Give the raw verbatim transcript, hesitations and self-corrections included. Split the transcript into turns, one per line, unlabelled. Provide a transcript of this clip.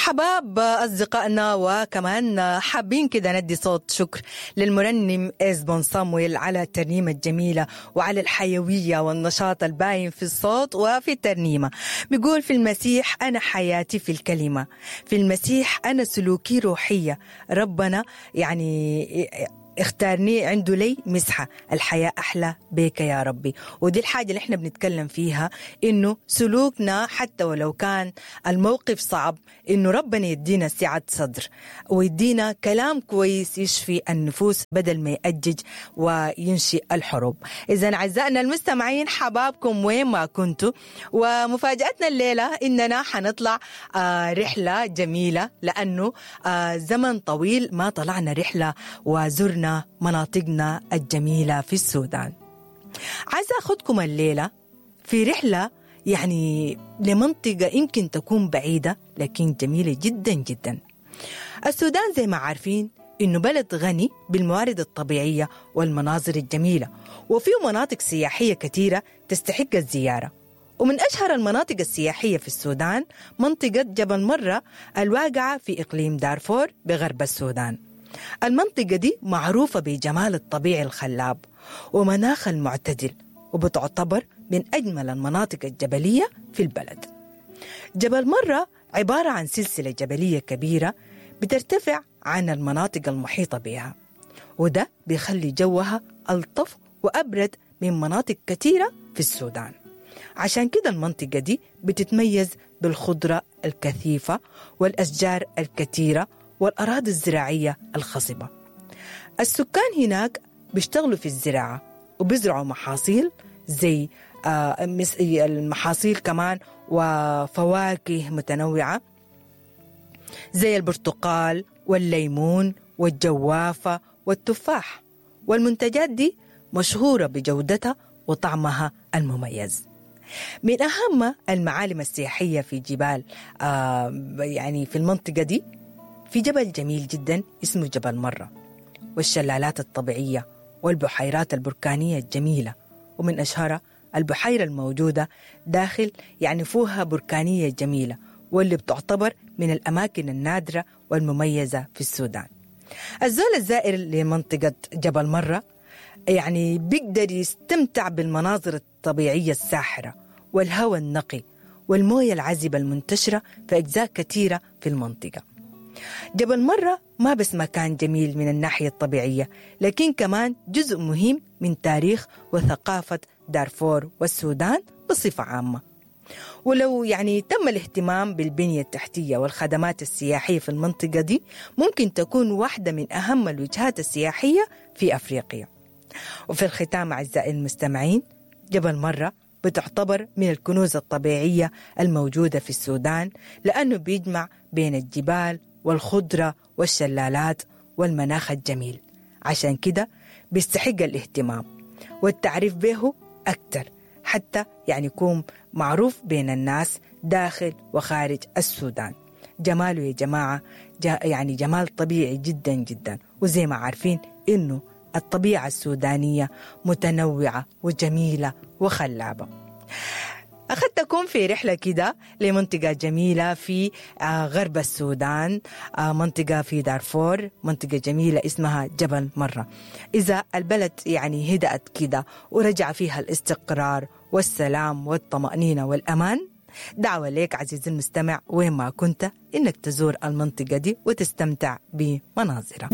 حباب أصدقائنا، وكمان حابين كده ندي صوت شكر للمرنم إزبون صامويل على الترنيمة الجميلة وعلى الحيوية والنشاط الباين في الصوت وفي الترنيمة. بيقول: في المسيح أنا حياتي في الكلمة، في المسيح أنا سلوكي روحية، ربنا يعني اختارني عنده لي مسحة، الحياة أحلى بيك يا ربي. ودي الحاجة اللي احنا بنتكلم فيها، إنه سلوكنا حتى ولو كان الموقف صعب، إنه ربنا يدينا سعة صدر ويدينا كلام كويس يشفي النفوس بدل ما يأجج وينشئ الحروب. إذا أعزائنا المستمعين، حبابكم وين ما كنتوا، ومفاجأتنا الليلة إننا حنطلع آه رحلة جميلة، لأنه آه زمن طويل ما طلعنا رحلة وزرنا مناطقنا الجميلة في السودان. عايزة أخذكم الليلة في رحلة يعني لمنطقة يمكن تكون بعيدة لكن جميلة جدا جدا. السودان زي ما عارفين إنه بلد غني بالموارد الطبيعية والمناظر الجميلة، وفيه مناطق سياحية كثيرة تستحق الزيارة. ومن أشهر المناطق السياحية في السودان منطقة جبل مرة الواقعة في إقليم دارفور بغرب السودان. المنطقة دي معروفة بجمال الطبيعي الخلاب ومناخ المعتدل، وبتعتبر من أجمل المناطق الجبلية في البلد. جبل مرة عبارة عن سلسلة جبلية كبيرة بترتفع عن المناطق المحيطة بها، وده بيخلي جوها ألطف وأبرد من مناطق كثيرة في السودان. عشان كده المنطقة دي بتتميز بالخضرة الكثيفة والأشجار الكثيرة والأراضي الزراعية الخصبة. السكان هناك بيشتغلوا في الزراعة وبيزرعوا محاصيل زي آه المحاصيل كمان وفواكه متنوعة زي البرتقال والليمون والجوافة والتفاح، والمنتجات دي مشهورة بجودتها وطعمها المميز. من أهم المعالم السياحية في جبال آه يعني في المنطقة دي في جبل جميل جدا اسمه جبل مرة، والشلالات الطبيعية والبحيرات البركانية الجميلة، ومن أشهرها البحيرة الموجودة داخل يعني فوها بركانية جميلة، واللي بتعتبر من الأماكن النادرة والمميزة في السودان. الزول الزائر لمنطقة جبل مرة يعني بيقدر يستمتع بالمناظر الطبيعية الساحرة والهواء النقي والموية العذبة المنتشرة في أجزاء كثيرة في المنطقة. جبل مرة ما بس مكان جميل من الناحية الطبيعية، لكن كمان جزء مهم من تاريخ وثقافة دارفور والسودان بصفة عامة. ولو يعني تم الاهتمام بالبنية التحتية والخدمات السياحية في المنطقة دي، ممكن تكون واحدة من أهم الوجهات السياحية في أفريقيا. وفي الختام أعزائي المستمعين، جبل مرة بتعتبر من الكنوز الطبيعية الموجودة في السودان، لأنه بيجمع بين الجبال والخضرة والشلالات والمناخ الجميل. عشان كده بيستحق الاهتمام والتعريف به أكثر، حتى يعني يكون معروف بين الناس داخل وخارج السودان. جماله يا جماعة يعني جمال طبيعي جدا جدا، وزي ما عارفين إنه الطبيعة السودانية متنوعة وجميلة وخلابة. أخذتكم في رحلة كده لمنطقة جميلة في غرب السودان، منطقة في دارفور، منطقة جميلة اسمها جبل مرة. إذا البلد يعني هدأت كده ورجع فيها الاستقرار والسلام والطمأنينة والأمان، دعوة لك عزيزي المستمع وين ما كنت إنك تزور المنطقة دي وتستمتع بمناظرها.